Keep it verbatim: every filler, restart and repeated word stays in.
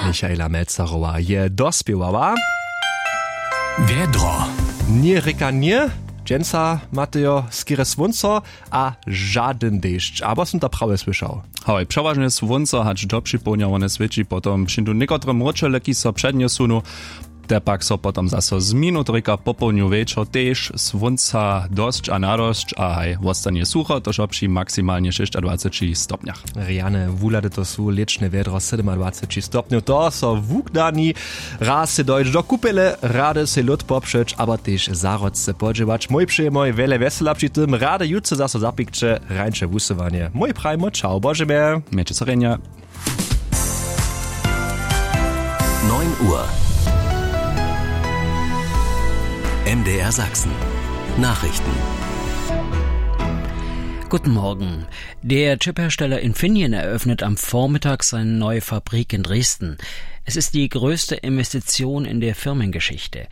Michaela Melzerowa je dospěwała. Wjedro. Ně rěka ně. Dźensa matejo skerje słónco a žadyn dešć, abo sym to prawje słyšał? Hoj, přewažnje słónco hač do připołdnja wone swěći, potom přińdu někotre mróčele, kiž so přednjesunu, te pak so potom zaso zminu, trika popołdnju wječor tež słónca dosć a nadosć a haj wostanje sucho, to wšo při maksimalnje šěsćadwaceći stopnjach. Rjane wuhlady to su lěčne wjedro, sydomadwaceći stopnjow, to so wukdani. Raz sej dojć do kupele, rady sej lód popřeć abo tež zahrodce podźěłać. Mój přejemoj wjele wjesela při tym, rady jutře zaso zapikće, rańše wusyłanje. Mój prajimo čau, božemje. Mějće so rjenje. Neun Uhr. M D R Sachsen. Nachrichten. Guten Morgen. Der Chiphersteller Infineon eröffnet am Vormittag seine neue Fabrik in Dresden. Es ist die größte Investition in der Firmengeschichte.